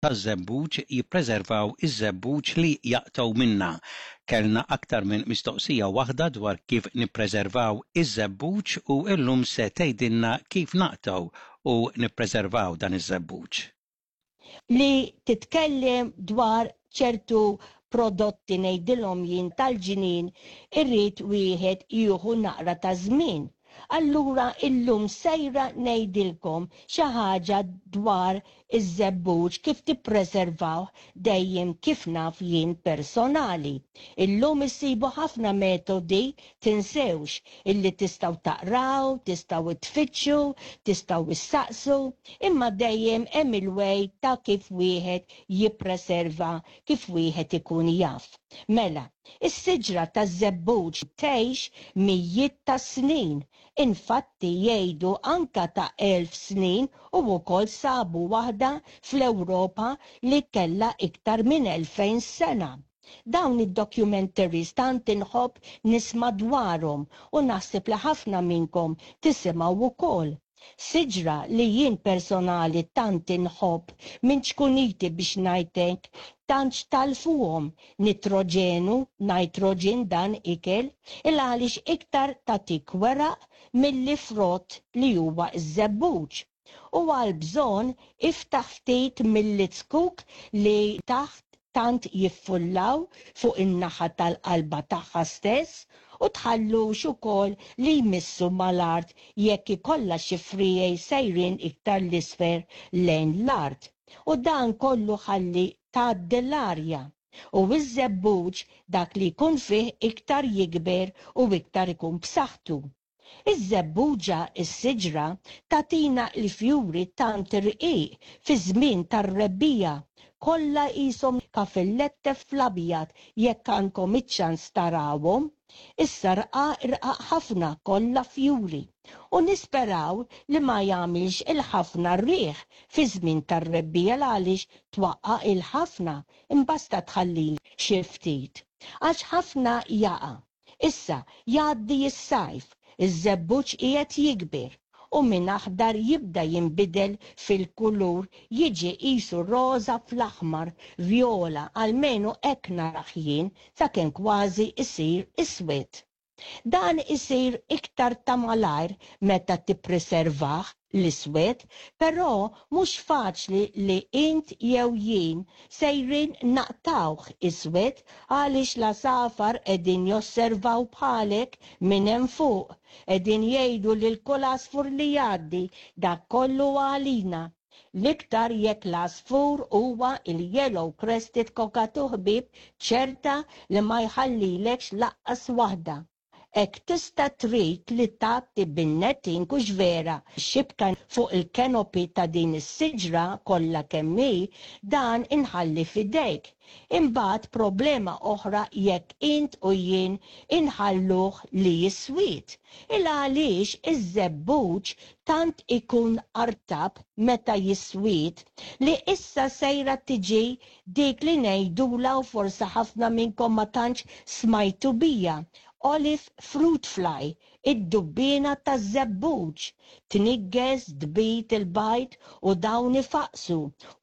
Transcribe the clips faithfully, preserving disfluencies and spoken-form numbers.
Taż-żebbuġ jippreservaw iż-żebbuġ li jaqtgħu minnha. Kellna aktar minn mistoqsija waħda dwar kif nippreservaw iż-żebbuġ u llum se tgħidilna kif naqtgħu u nippreservaw dan iż-żebbuġ. Li titkellem dwar ċertu prodotti, ngħidilhom jien, tal-ġnien, irrid wieħed jieħu naqra ta' żmien. Allura illum sejra ngħidilkom xi ħaġa dwar iż-żebbuġ, kif tippreservaw dejjem kif naf jien personali. Illum issibu ħafna metodi, tinsewx illi tistgħu taqraw, tistgħu tfittxu, tistgħu issaqsu, imma dejjem hemm il-way ta' kif wieħed jippreserva, kif wieħed ikun jaf. Mela, is-siġra taż-żebbuġ tgħix mijiet ta' snin. Infatti jgħidu anka ta' elf snin u wkoll sabu waħda fl-Ewropa li kellha iktar minn elfejn sena. Dawn id-documentaries tant inħobb nisma' dwarhom u naħseb li ħafna minnkom tisimgħu wkoll. Siġra li jien personali tant inħobb minn ċkuniti, biex ngħidlek, tantx talfuhom nitroġenu, nitrogen dan ikel, il għaliex iktar tatik weraq milli frott li huwa iż-żebbuġ. U għal bżonn iftaħ ftit mill-itzkuk li taħt tant jiffullaw fuq in-naħa tal-qalba tagħha stess u tħallux ukoll li jmissu mal-art jekk ikollha xi friegħi sejrin iktar l-isfel lejn l-art. U dan kollu ħalli tgħaddi l-arja. U iż-żebbuġ dak li jkun fih iktar jikber u iktar ikun b'saħħtu. Iż-żebbuġa, is-siġra, tagħtina l-fjuri tant irqiq fi żmien tar-rebbiegħa, kollha qishom kafillette fl-abjad jekk għandkom iċ-ċans tarawhom. Issa rqaq irqaq ħafna, kollha fjuri. U nisperaw li ma jagħmilx il-ħafna rieħ fi żmien tar-rebbiegħa għaliex twaqqa' il-ħafna, imbasta tħalli xi ftit. Għax ħafna jaqa'. Issa jgħaddi s-sajf, iż-żebbuġ qiegħed jikber u minn aħdar jibda jinbidel fil-kulur, jiġi qisu roża fl-aħmar, vjola, almenu hekk narah jien, sakemm kważi isir iswed. Dan isir iktar ta' malajr meta tippreservah l-iswed, però mhux faċli li int jew jien sejrin naqtawh iswed għaliex l-għasafar qegħdin josservaw bħalek minn hemm fuq, qegħdin jgħidu lil kull għasfur li jgħaddi, "Dak kollu għalina." L-iktar jekk l-għasfur huwa il-yellow crested cockatoo, ħbieb, ċerta li ma jħallilekx lanqas waħda. Hekk tista' trid li tagħti bin-netting, hux vera, xibka fuq il-canopy ta' din is-siġra kollha kemm hi, dan inħalli f'idejk. Imbagħad problema oħra jekk int u jien inħalluh li jiswid. Il għaliex iż-żebbuġ tant ikun artab meta jiswid li issa sejra tiġi dik li ngħidula, u forsi ħafna minnkom ma tantx smajtu bija, olive fruit fly, id-dubbina taż-żebbuġ, tniggeż, tbid il-bajd u dawn ifaqsu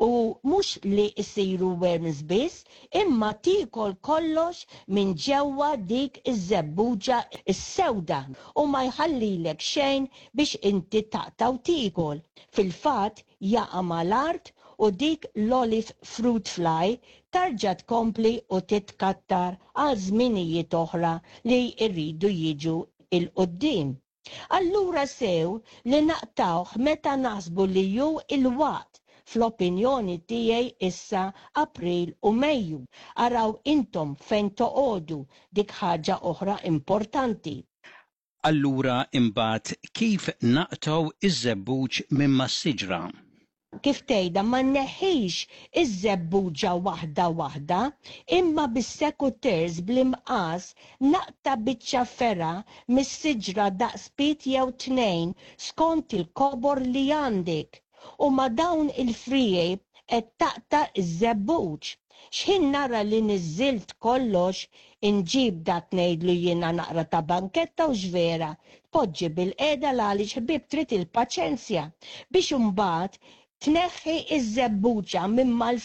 u mhux li jsiru worms biss, imma tiekol kollox minn ġewwa dik iż-żebbuġa is-sewda u ma jħallilek xejn biex inti taqta' u tiekol. Fil-fatt jaqa' mal-art u dik l-olive fruit fly tarġa' tkompli u titkattar għal żminijiet oħra li jridu jiġu 'l quddiem. Allura sew li naqtawh meta naħsbu li hu il-waqt, fl-opinjoni tiegħi issa April u Mejju. Araw intom fejn toqogħdu, dik ħaġa oħra importanti. Allura imbagħad kif naqtgħu iż-żebbuġ minn mas-siġra? Kif tgħidha, ma nneħħix iż-żebbuġa waħda waħda, imma bis-secateurs, bl-imqas, naqta' biċċa fergħa mis-siġra daqs pied jew tnejn skont il-kobor li għandek. U ma' dawn il-friegħi qed taqta' iż-żebbuġ. X'ħin nara li niżilt kollox, inġib dak ngħidlu jiena naqra ta' banketta, hux vera, tpoġġi bilqiegħda għaliex, ħbieb, trid il-paċenzja biex imbagħad tneħħi iż-żebbuġa minn mal